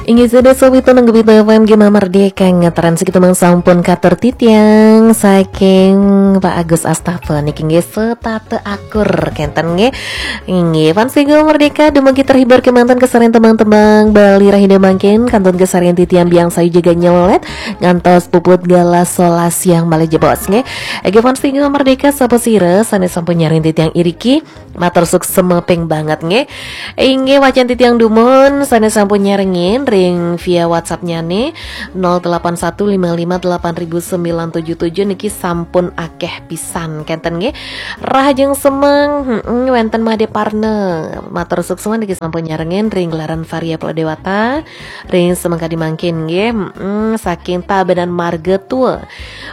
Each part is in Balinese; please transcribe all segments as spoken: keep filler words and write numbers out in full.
Inggih, sada sawita nang Gempita F M Gema Merdeka, ngataran sakitu mang sampun katur titiang saking Pak Agus Astafa niki nggih, setate akur kenten nggih. Inggih, fans Gema Merdeka, dumugi terhibur kemanten kasarian tembang-tembang Bali rahina mangkin, kantun kasarian titiang Biang Sayu jaga nyelet ngantos puput galah solas siang malih jebos nggih. Inggih, fans Gema Merdeka, sapa sira sane sampun nyarengin titiang iriki, matur suksma ping banget nggih. Inggih, wacen titiang dumun sane sampun nyarengin ring via WhatsApp-nyane nol delapan satu lima lima delapan ribu sembilan tujuh tujuh niki sampun akeh pisan kenten nggih. Rahajeng semeng, heeh, wenten Made Parna. Matur suksma niki sampun nyarengin ring gelaran Varia Pulau Dewata, ring semeng kadi mangkin nggih, heeh, saking Tabanan Marga Tua.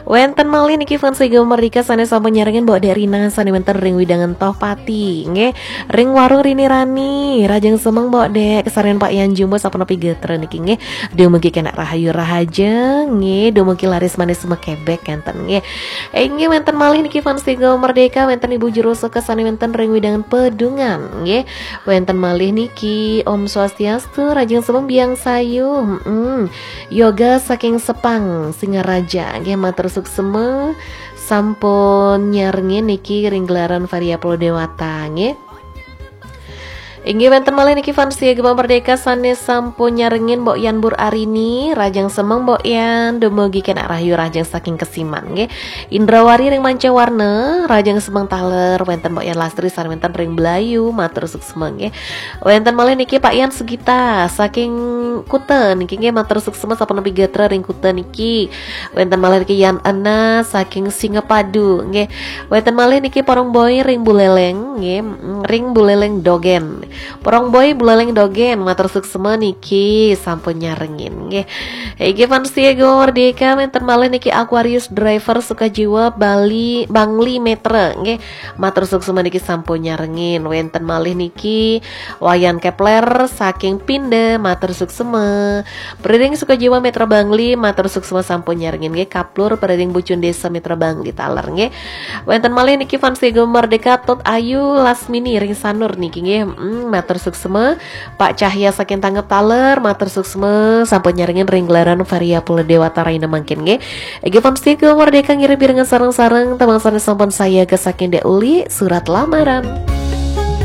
Wenten malih niki fans Gema Merdeka sane sampun nyarengin Mbok Dek Rina sane wenten ring wewidangan Tohpati nggih. Ring warung Rini Rani, rahajeng semeng Mbok Dek, kasarian Pak Yan Jumbo sapunapi gatra niki nggih. Dumugi kenak rahayu rahaja nggih, dumugi laris manis makebek kenten nggih. Inggih, wenten malih niki fans Gema Merdeka, wenten Ibu Juru Suka sane wenten ring wewidangan Pedungan nggih. Wenten malih niki Om Swastiastu, rahajeng semeng Biang Sayu. Heeh. Yoga saking Sepang, Singaraja nggih, matur suksma sampun nyarengin niki ring gelaran Varia Pulau Dewata nggih. Inggih, wenten malih niki fans Gema Merdeka sane sampun nyarengin Mbok Yan Bur Arini, rahajeng semeng Mbok Yan, dumugi kenak rahayu rahajeng saking Kesiman nggih. Indrawari ring Mancawarna, rahajeng semeng taler, wenten Mbok Yan Lastri sane wenten ring Belayu, matur suksma nggih. Wenten malih niki Pak Yan Sugita saking Kuta niki nggih, matur suksma sapunapi gatra ring Kuta niki. Wenten malih niki Yan Ena saking Singapadu nggih. Wenten malih niki Porong Boy ring Buleleng nggih, mm, ring Buleleng Dogen. Porong Boy Buleleng Dogen, matur suksma niki sampun nyarengin nggih. Inggih, fans Gema Merdeka, wenten malih niki Aquarius Driver Sukajiwa Bali Bangli Metra nggih. Matur suksma niki sampun nyarengin. Wenten malih niki Wayan Kepler saking Pinda, matur suksma. Priring Sukajiwa Metra Bangli, matur suksma sampun nyarengin nggih. Kaplur Priring Bucun Desa Metra Bangli taler nggih. Wenten malih niki fans Gema Merdeka, Tut Ayu Lasmini ring Sanur niki nggih. Mm, matur suksma. Pak Cahya saking Tanggep taler, matur suksma sampun nyarengin ring gelaran Varia Pulau Dewata rahina mangkin nggih. Inggih, fans Gema Merdeka, ngiring pirengan sareng-sareng tembang sane sampun sayaga saking Dek Uli, Surat Lamaran.